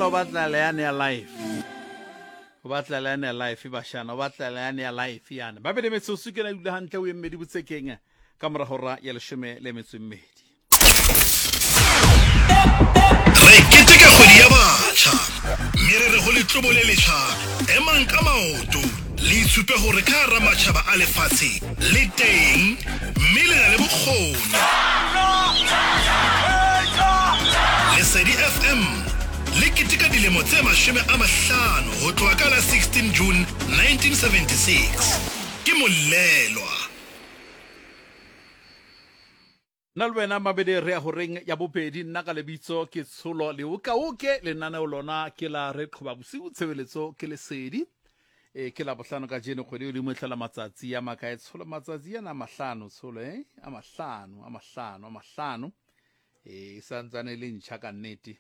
Fela o batla leane ya life. O batla leane ya life bashana, o batla leane ya life yana. Ba bele metsotso ke na dula hantle o emmedi botsekeng ka mora hora ya leshome le metso e mmedi. Re keteka kgwedi ya batjha mme re re ho letlobo le letjha, emang ka maoto le itshupe hore ka hara matjhaba a lefatshe le teng mme le na le bokgoni. Lesedi FM le keteka dilemo tse 50 ho tloha ka la 16 June 1976. Ke Molelwa. Nna le wena Mabele re ya horeng ya bobedi. Nna ka lebitso ke Tsholo Leokaoke, lenaneo lona ke la Re Qhoba Bosiu, tshebeletso ke Lesedi. E, ke Labohlano kajeno, kgwedi e godimo e hlola matsatsi a makae Tsholo? Matsatsi ana a mahlano Tsholo, eh? A mahlano, a mahlano, a mahlano. E, e santsane e le ntjha ka nnete.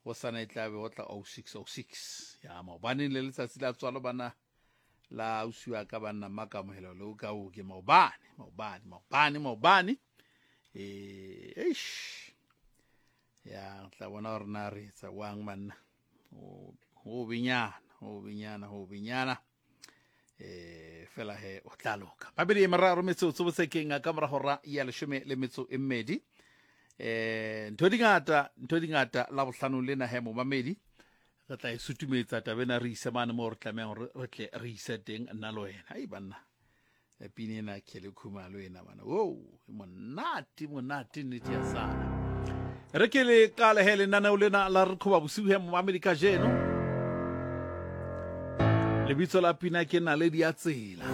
Hosane e tla be ho tla 0606. Ya maobaneng le letsatsi la tswalo bana la ausi wa ka banna mmakamohelo le o ka o ke maobane maobane maobane maobane eh eish ya tla bona gore na re etsa wang banna ho benyana ho benyana ho benyana eh fela he o tla loka babedi e meraro metsotso botsekeng ka mora hora ya leshome le metso e mmedi eh ntho di ngata ntho di ngata la bohlano lena he momamedi Re tla e sutumetsa taba ena re ise mane moo re tlamehang hore re tle re ise teng nna le wena. Ai banna, e pina ena Kelly Khumalo ena bana. Wow, e monate monate nnete ya sana. Re ke le qale he lenaneo lena la re qhoba bosiu he momamedi kajeno. Lebitso la pina ke Naledi ya Tsela.